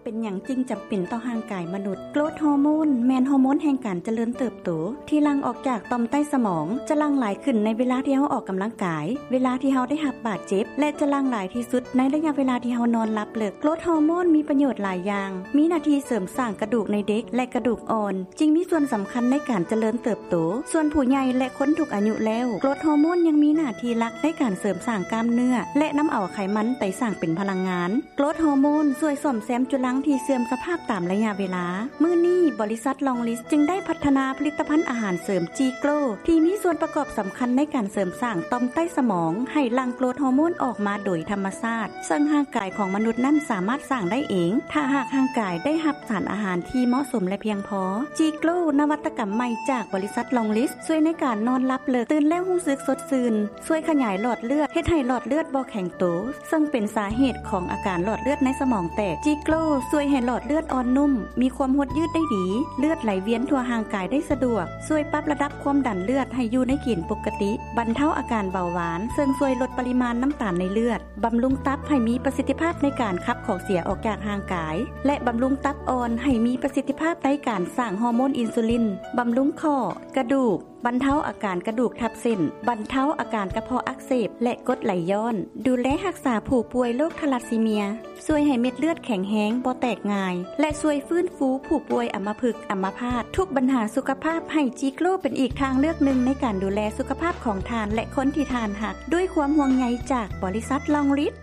ເປັນຫຍັງຈຶ່ງຈຳເປັນຕໍ່ຮ່າງກາຍມະນຸດ? ໂກຣດຮໍໂມນແມ່ນຮໍໂມນແຫ່ງການຈະເລີນເຕີບໂຕ ທີ່ຫຼັ່ງອອກຈາກຕ່ອມໃຕ້ສະໝອງ, ຈະຫຼັ່ງຫຼາຍຂຶ້ນໃນເວລາທີ່ເຮົາອອກກຳລັງກາຍ, ເວລາທີ່ເຮົາໄດ້ຮັບບາດເຈັບ ແລະ ຈະຫຼັ່ງຫຼາຍທີ່ສຸດໃນໄລຍະເວລາທີ່ເຮົານອນຫຼັບເລິກ. ໂກຣດຮໍໂມນມີປະໂຫຍດຫຼາຍຢ່າງ, ມີໜ້າທີ່ເສີມສ້າງກະດູກໃນເດັກ ແລະ ກະດູກອ່ອນ, ຈຶ່ງມີສ່ວນສຳຄັນໃນການຈະເລີນເຕີບໂຕ. ສ່ວນຜູ້ໃຫຍ່ ແລະ ຄົນທຸກອາຍຸແລ້ວ, ໂກຣດຮໍໂມນຍັງມີໜ້າທີ່ຫຼັກໃນການເສີມສ້າງກ້າມເນື້ອ ແລະ ນຳເອົາໄຂມັນໄປສ້າງເປັນພະລັງງານ. ໂກຣດຮໍໂມນຊ່ວຍສ້ອມແຊມຈຸລັງທີ່ເສື່ອມສະພາບຕາມໄລຍະເວລາ. ມື້ນີ້, ບໍລິສັດລອງລິດ ຈຶ່ງໄດ້ພັດທະນາຜະລິດຕະພັນອາຫານເສີມຈີໂກຣ ທີ່ມີສ່ວນປະກອບສຳຄັນໃນການເສີມສ້າງຕ່ອມໃຕ້ສະໝອງໃຫ້ຫຼັ່ງໂກຣດຮໍໂມນອອກມາໂດຍທຳມະຊາດ, ເຊິ່ງຮ່າງກາຍຂອງມະນຸດນັ້ນສາມາດສ້າງໄດ້ເອງ ຖ້າຫາກຮ່າງກາຍໄດ້ຮັບສານອາຫານທີ່ເໝາະສົມ ແລະ ພຽງພໍ. ຈີໂກຣ ນະວັດຕະກຳໃໝ່ຈາກບໍລິສັດລອງລິດ ຊ່ວຍໃນການນອນຫຼັບເລິກ, ຕື່ນແລ້ວຮູ້ສຶກສົດຊື່ນ, ຊ່ວຍຂະຫຍາຍຫຼອດເລືອດ, ເຮັດໃຫ້ຫຼອດເລືອດບໍ່ແຂງໂຕ, ເຊິ່ງເປັນສາເຫດຂອງອາການຫຼອດເລືອດໃນສະໝອງແຕກ. ຈີໂກຣຊ່ວຍໃຫ້ຫຼອດເລືອດອ່ອນນຸ້ມ, ມີຄວາມຫົດຍືດໄດ້ດີ, ເລືອດໄຫຼວຽນທົ່ວຮ່າງກາຍໄດ້ສະດວກ, ຊ່ວຍປັບລະດັບຄວາມດັນເລືອດໃຫ້ຢູ່ໃນເກນປົກກະຕິ, ບັນເທົາອາການເບົາຫວານ, ເຊິ່ງຊ່ວຍລົດປະລິມານນ້ຳຕານໃນເລືອດ, ບຳລຸງຕັບໃຫ້ມີປະສິດທິພາບໃນການຂັບຂອງເສຍອອກຈາກຮ່າງກາຍ ແລະ ບຳລຸງຕັບອ່ອນໃຫ້ມີປະສິດທິພາບໃນການສ້າງຮໍໂມນອິນຊູລິນ, ບຳລຸງຂໍ້, ກະດູກ, ບັນເທົາອາການກະດູກທັບເສັ້ນ, ບັນເທົາອາການກະເພາະອັກເສບ ແລະ ກົດໄຫຼຍ້ອນ, ດູແລຮັກສາຜູ້ປ່ວຍໂລກທາລາຊີເມຍ, ຊ່ວຍໃຫ້ເມັດເລືອດແຂງແຮງ, ບໍ່ແຕກງ່າຍ ແລະ ຊ່ວຍຟື້ນຟູຜູ້ປ່ວຍອຳມະພຶກ, ອຳມະພາດ, ທຸກບັນຫາສຸຂະພາບ, ໃຫ້ຈີໂກຣເປັນອີກທາງເລືອກໜຶ່ງໃນການດູແລສຸຂະພາບຂອງທ່ານ ແລະ ຄົນທີ່ທ່ານຮັກ, ດ້ວຍຄວາມຫ່ວງໃຍຈາກບໍລິສັດລອງລິດ.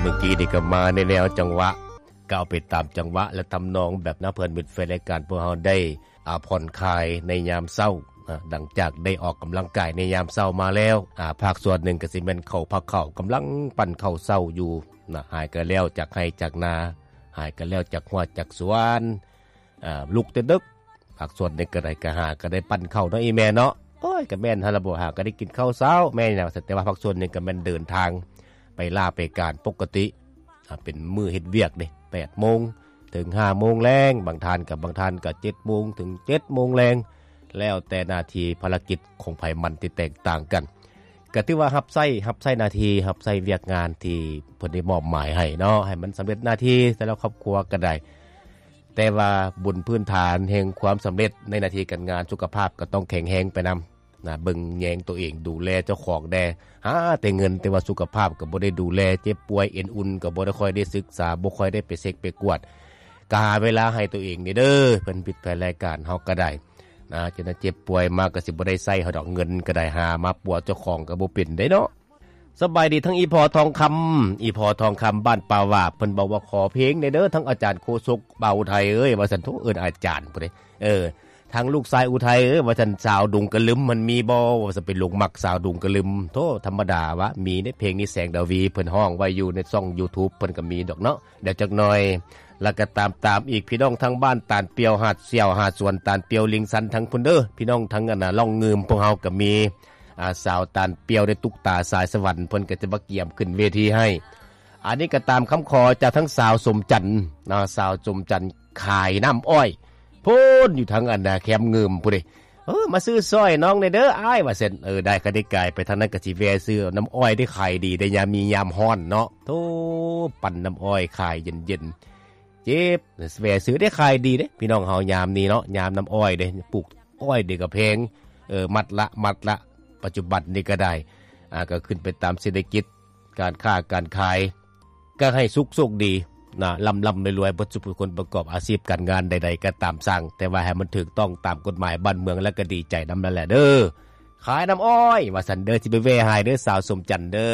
ເມື່ອກີ້ນີ້ກໍມາໃນແນວຈັງຫວະ ກໍເອົາໄປຕາມຈັງຫວະ ແລະ ທຳນອງ ແບບນຳເພື່ອນມິດແຟນລາຍການພວກເຮົາໄດ້ ອາ ຜ່ອນຄາຍໃນຍາມເຊົ້າ ອາ ຫຼັງຈາກໄດ້ອອກກຳລັງກາຍໃນຍາມເຊົ້າມາແລ້ວ ອາ ພາກສ່ວນໜຶ່ງກໍຊິແມ່ນເຂົ້າ ພາກເຂົ້າ ກຳລັງປັ້ນເຂົ້າເຊົ້າຢູ່ນະ ຫາກໍແລ້ວຈາກໄຮ່ຈາກນາ ຫາກໍແລ້ວຈາກຮົ້ວຈາກສວນ ອາ ລຸກແຕ່ດຶກ ພາກສ່ວນໜຶ່ງກໍໄດ້ ກໍຫາກໍໄດ້ປັ້ນເຂົ້າເນາະ ອີ່ແມ່ເນາະ ໂອ້ຍ ກໍແມ່ນຫັ້ນລະບໍ່ ຫາກໍໄດ້ກິນເຂົ້າເຊົ້າ ແມ່ນຫຍັງ ແຕ່ວ່າພາກສ່ວນໜຶ່ງກໍແມ່ນເດີນທາງໄປລາໄປການປົກກະຕິ ອາ ເປັນມື້ເຮັດວຽກເດ້ ແປດໂມງເຖິງຫ້າໂມງແລງ ບາງທ່ານກໍ ບາງທ່ານກໍເຈັດໂມງເຖິງເຈັດໂມງແລງ ແລ້ວແຕ່ໜ້າທີ່ພາລະກິດຂອງໃຜມັນທີ່ແຕກຕ່າງກັນ ກໍຖືວ່າຮັບໃຊ້ ຮັບໃຊ້ໜ້າທີ່ ຮັບໃຊ້ວຽກງານທີ່ເພິ່ນໄດ້ມອບໝາຍໃຫ້ເນາະ ໃຫ້ມັນສຳເລັດໜ້າທີ່ແຕ່ລະຄອບຄົວກໍໄດ້ ແຕ່ວ່າບົນພື້ນຖານແຫ່ງຄວາມສຳເລັດໃນໜ້າທີ່ການງານ ສຸຂະພາບກໍຕ້ອງແຂງແຮງໄປນຳ ນະ ເບິ່ງແຍງໂຕເອງ ດູແລເຈົ້າຂອງແດ່ ຫາແຕ່ເງິນ ແຕ່ວ່າສຸຂະພາບກໍບໍ່ໄດ້ດູແລ ເຈັບປ່ວຍ ເອັນອຸ່ນກໍບໍ່ໄດ້ຄ່ອຍໄດ້ສຶກສາ ບໍ່ຄ່ອຍໄດ້ໄປເຊັກໄປກວດ ກໍຫາເວລາໃຫ້ໂຕເອງນີ້ເດີ ເພິ່ນຜິດແຜນລາຍການເຮົາກໍໄດ້ນະ ຈະນະເຈັບປ່ວຍມາກໍຊິບໍ່ໄດ້ໃຊ້ເຮົາດອກ ເງິນກໍໄດ້ຫາມາປົວເຈົ້າຂອງກໍບໍ່ເປັນເດ້ເນາະ. ສະບາຍດີທັງອີ່ພໍ່ທອງຄຳ ອີ່ພໍ່ທອງຄຳບ້ານປ່າຫວາບ ເພິ່ນບອກວ່າຂໍເພງແດ່ເດີ ທັງອາຈານໂຄສົກ ບ່າວໄທເອີຍ ວ່າຊັ້ນ ໂທ ເອີ້ນອາຈານພຸ້ນເດ້ ເອີ ທາງລູກຊາຍອຸໄທເອີຍ ວ່າຊັ້ນ ສາວດົງກະລຶມມັນມີບໍ່ ວ່າຊັ້ນ ໄປຫຼົງມັກສາວດົງກະລຶມ ໂທ ທຳມະດາວະ ມີໃນເພງນີ້ ແສງດາວີ ເພິ່ນຮ້ອງໄວ້ຢູ່ໃນຊ່ອງຢູທູບ ເພິ່ນກໍມີດອກເນາະ ດຽວຈັກໜ່ອຍ ແລ້ວກໍຕາມ ຕາມອີກ ພີ່ນ້ອງທາງບ້ານຕານປ່ຽວ ຫາດສ່ຽວ ຫາດສວນຕານປ່ຽວ ລິງຊັນ ທາງພຸ້ນເດີ ພີ່ນ້ອງທາງອັນນ່າ ລ່ອງງື່ມ ພວກເຮົາກໍມີ ອາ ສາວຕານປ່ຽວ ໄດ້ຕຸກຕາສາຍສະຫວັນ ເພິ່ນກໍຈະມາກຽມຂຶ້ນເວທີໃຫ້ ອັນນີ້ກໍຕາມຄຳຂໍຈາກທາງສາວສົມຈັນນະ ສາວສົມຈັນຂາຍນ້ຳອ້ອຍ ພຸ້ນຢູ່ທາງອັນນາແຄມງື່ມພຸ້ນເດ້ ເອີ ມາຊື້ຊ່ອຍນ້ອງແດ່ເດີອ້າຍ ວ່າຊັ້ນ ເອີ ໄດ້ ຄັນໄດ້ກາຍໄປທາງນັ້ນກໍຊິແວ່ຊື້ນ້ຳອ້ອຍ ໄດ້ຂາຍດີໄດ້ຍາມນີ້ຍາມຮ້ອນເນາະ ໂທ ປັ່ນນ້ຳອ້ອຍຂາຍເຢັນໆ ເຈັບ ແວ່ຊື້ໄດ້ຂາຍດີເດ້ ພີ່ນ້ອງເຮົາຍາມນີ້ເນາະ ຍາມນ້ຳອ້ອຍເດ້ ປູກອ້ອຍເດ້ກໍແພງ ເອີ ມັດລະ ມັດລະ ປັດຈຸບັນນີ້ກໍໄດ້ ອາ ກໍຂຶ້ນໄປຕາມເສດຖະກິດ ການຄ້າການຂາຍ ກໍໃຫ້ສຸກໂຊກດີນະ ລ່ຳໆລວຍໆ ເບິດສູ່ຜູ້ຄົນປະກອບອາຊີບການງານໃດໆກໍຕາມຊ່າງ ແຕ່ວ່າໃຫ້ມັນຖືກຕ້ອງຕາມກົດໝາຍບ້ານເມືອງ ແລ້ວກໍດີໃຈນຳນັ້ນແຫຼະເດີ ຂາຍນ້ຳອ້ອຍ ວ່າຊັ້ນເດີ ຊິໄປແວ່ໃຫ້ເດີ ສາວສົມຈັນເດີ.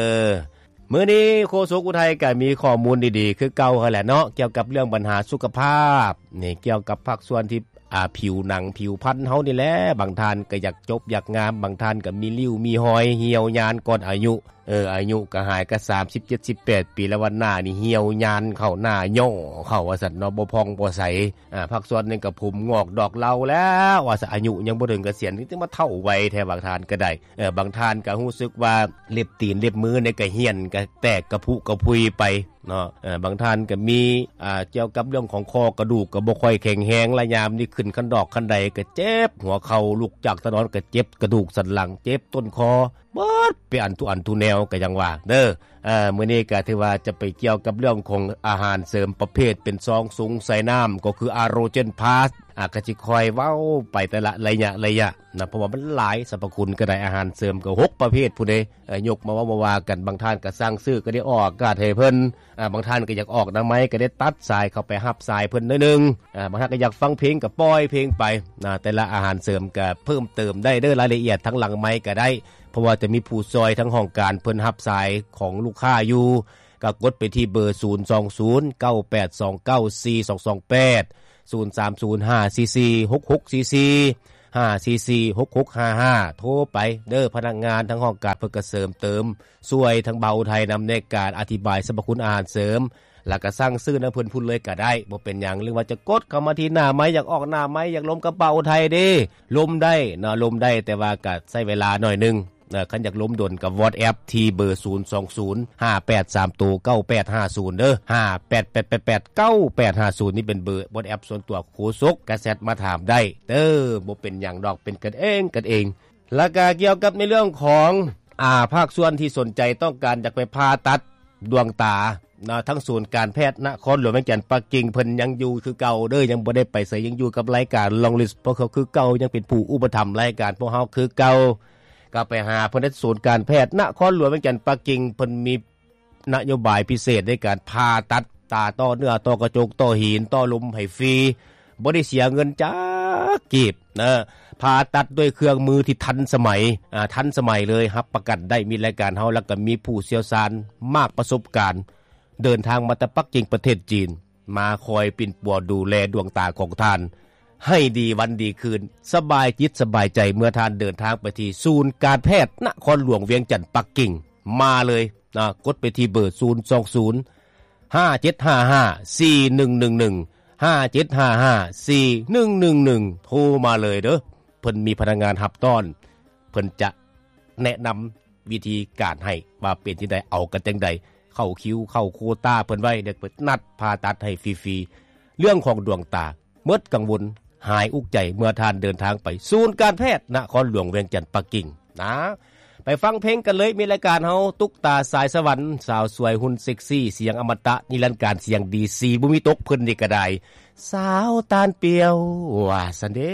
ມື້ນີ້ໂຄສົກອຸໄທກໍມີຂໍ້ມູນດີໆຄືເກົ່າຫັ້ນແຫຼະເນາະ ກ່ຽວກັບເລື່ອງບັນຫາສຸຂະພາບນີ້ ກ່ຽວກັບພາກສ່ວນທີ່ ອາ ຜິວໜັງຜິວພັນເຮົານີ້ແຫຼະ ບາງທ່ານກໍຢາກຈົບຢາກງາມ ບາງທ່ານກໍມີລິ້ວມີຮອຍ ຫ່ຽວຍານກ່ອນອາຍຸ ເອີ ອາຍຸກໍຫາຍກໍສາມສິບເຈັດ ສິບແປດປີແລ້ວ ວ່າໜ້ານີ້ຫ່ຽວຍານເຂົ້າ ໜ້າຫຍໍ້ເຂົ້າວ່າຊັ້ນເນາະ ບໍ່ຜ່ອງບໍ່ໃສ ອາ ພາກສ່ວນໜຶ່ງກໍຜົມງອກດອກເລົາແລ້ວວ່າຊັ້ນ ອາຍຸຍັງບໍ່ເຖິງກະສຽນນີ້ ຈັ່ງມາເຖົ້າໄວແທ້ ບາງທ່ານກໍໄດ້ ເອີ ບາງທ່ານກໍຮູ້ສຶກວ່າເລັບຕີນເລັບມືນີ້ກໍຫ້ຽນ ກໍແຕກກະພຸກະພຸຍໄປ ເນາະ ເອີ ບາງທ່ານກໍມີ ອ່າ ກ່ຽວກັບເລື່ອງຂອງຂໍ້ກະດູກກໍບໍ່ຄ່ອຍແຂງແຮງ ລະຍາມນີ້ຂຶ້ນຄັນດອກຄັນໄດກໍເຈັບຫົວເຂົ່າ ລຸກຈາກຕານອນກໍເຈັບກະດູກສັນຫຼັງ ເຈັບຕົ້ນຄໍ ເບິດເປັນອັນທຸອັນທຸແນວ ກໍຍັງວ່າເດີ ເອີ ມື້ນີ້ກໍຖືວ່າຈະໄປກ່ຽວກັບເລື່ອງຂອງອາຫານເສີມປະເພດເປັນຊອງຊຸງໃສ່ນ້ຳ ກໍຄືອາໂຣເຈນພລັສ ອາ ກໍຊິຄ່ອຍເວົ້າໄປແຕ່ລະໄລຍະໄລຍະນະ ເພາະວ່າມັນຫຼາຍ ສັບພະຄຸນກໍໄດ້ ອາຫານເສີມກໍຫົກປະເພດພຸ້ນເດ້. ເອີ ຍົກມາເວົ້າມາວ່າກັນ ບາງທ່ານກໍສັ່ງຊື້ກໍໄດ້ອອກອາກາດໃຫ້ເພິ່ນ ອາ ບາງທ່ານກໍຢາກອອກໜ້າໄມ້ ກໍໄດ້ຕັດສາຍເຂົ້າໄປຮັບສາຍເພິ່ນໜ້ອຍໜຶ່ງ ອາ ບາງທ່ານກໍຢາກຟັງເພງກໍປ່ອຍເພງໄປນະ. ແຕ່ລະອາຫານເສີມກໍເພີ່ມເຕີມໄດ້ເດີ້ ລາຍລະອຽດທາງຫຼັງໄມກໍໄດ້ ເພາະວ່າຈະມີຜູ້ຊ່ອຍທາງຫ້ອງການເພິ່ນຮັບສາຍຂອງລູກຄ້າຢູ່ ກໍກົດໄປທີ່ເບີ ສູນສອງສູນ ເກົ້າແປດສອງເກົ້າ ສີ່ສອງສອງແປດ ສູນສາມສູນ ຫ້າສີ່ສີ່ ຫົກຫົກສີ່ສີ່ ຫ້າສີ່ສີ່ ຫົກຫົກຫ້າຫ້າ ໂທໄປເດີ້. ພະນັກງານທາງຫ້ອງການເພິ່ນກໍເສີມເຕີມ ຊ່ວຍທາງບ່າວໄທນຳໃນການອະທິບາຍສັບພະຄຸນອາຫານເສີມ ແລ້ວກໍສັ່ງຊື້ນຳເພິ່ນພຸ້ນເລີຍກໍໄດ້ ບໍ່ເປັນຫຍັງ. ຫຼືວ່າຈະກົດເຂົ້າມາທີ່ໜ້າໄມ ຢາກອອກໜ້າໄມ ຢາກລົມກັບບ່າວໄທເດ້ ລົມໄດ້ເນາະ ລົມໄດ້ ແຕ່ວ່າກໍໃຊ້ເວລາໜ້ອຍໜຶ່ງເນາະ. ຄັນຢາກລົມດົນກໍ WhatsApp ທີ່ເບີ ສູນສອງສູນ ຫ້າແປດສາມໂຕ ເກົ້າແປດຫ້າສູນ ເດີ້ ຫ້າແປດແປດແປດ ເກົ້າແປດຫ້າສູນ ນີ້ເປັນເບີ WhatsApp ສ່ວນຕົວໂຄສົກ ກໍແຊັດມາຖາມໄດ້ເດີ້ ບໍ່ເປັນຫຍັງດອກ ເປັນກັນເອງກັນເອງ. ແລ້ວກໍກ່ຽວກັບໃນເລື່ອງຂອງ ອາ ພາກສ່ວນທີ່ສົນໃຈຕ້ອງການຢາກໄປຜ່າຕັດດວງຕາເນາະ ທາງສູນການແພດນະຄອນຫຼວງວຽງຈັນປັກກິ່ງ ເພິ່ນຍັງຢູ່ຄືເກົ່າເດີ້ ຍັງບໍ່ໄດ້ໄປໃສ ຍັງຢູ່ກັບລາຍການ Long List ພວກເຂົາຄືເກົ່າ ຍັງເປັນຜູ້ອຸປະຖຳລາຍການພວກເຮົາຄືເກົ່າ. ກໍໄປຫາເພິ່ນທີ່ສູນການແພດນະຄອນຫຼວງວຽງຈັນປັກກິ່ງ ເພິ່ນມີ ນະໂຍບາຍພິເສດໃນການຜ່າຕັດຕາ ຕໍ່ເນື້ອ ຕໍ່ກະຈົກ ຕໍ່ຫີນ ຕໍ່ລົມໃຫ້ຟຣີ ບໍ່ໄດ້ເສຍເງິນຈັກກີບເນາະ. ຜ່າຕັດດ້ວຍເຄື່ອງມືທີ່ທັນສະໄໝ ອາ ທັນສະໄໝເລີຍ ຮັບປະກັນໄດ້ ມີລາຍການເຮົາ ແລ້ວກໍມີຜູ້ຊ່ຽວຊານມາກປະສົບການ ເດີນທາງມາແຕ່ປັກກິ່ງປະເທດຈີນ ມາຄອຍປິ່ນປົວດູແລດວງຕາຂອງທ່ານ ໃຫ້ດີວັນດີຄືນ ສະບາຍຈິດສະບາຍໃຈ ເມື່ອທ່ານເດີນທາງໄປທີ່ສູນການແພດນະຄອນຫຼວງວຽງຈັນປັກກິ່ງ ມາເລີຍນະ ກົດໄປທີ່ເບີ ສູນສອງສູນ ຫ້າເຈັດຫ້າຫ້າ ສີ່ໜຶ່ງໜຶ່ງໜຶ່ງ ຫ້າເຈັດຫ້າຫ້າ ສີ່ໜຶ່ງໜຶ່ງໜຶ່ງ ໂທມາເລີຍເດີ້ ເພິ່ນມີພະນັກງານຮັບຕ້ອນ ເພິ່ນຈະແນະນຳ ວິທີການໃຫ້ວ່າເປັນຈັ່ງໃດ ເອົາກັນຈັ່ງໃດ ເຂົ້າຄິວ ເຂົ້າໂຄຕາເພິ່ນໄວ້ ແລ້ວເພິ່ນນັດຜ່າຕັດໃຫ້ຟຣີໆ. ເລື່ອງຂອງດວງຕາ ໝົດກັງວົນ ຫາຍອຸກໃຈ ເມື່ອທ່ານເດີນທາງໄປສູນການແພດນະຄອນຫຼວງວຽງຈັນປັກກິ່ງນະ. ໄປຟັງເພງກັນເລີຍ ມີລາຍການເຮົາ ຕຸກຕາສາຍສະຫວັນ ສາວສວຍຫຸ່ນເຊັກຊີ ສຽງອະມະຕະນິລັນການ ສຽງດີ ສີບໍ່ມີຕົກ ເພິ່ນນີ້ກໍໄດ້ ສາວຕານປ່ຽວ ວ່າຊັ້ນເດ້.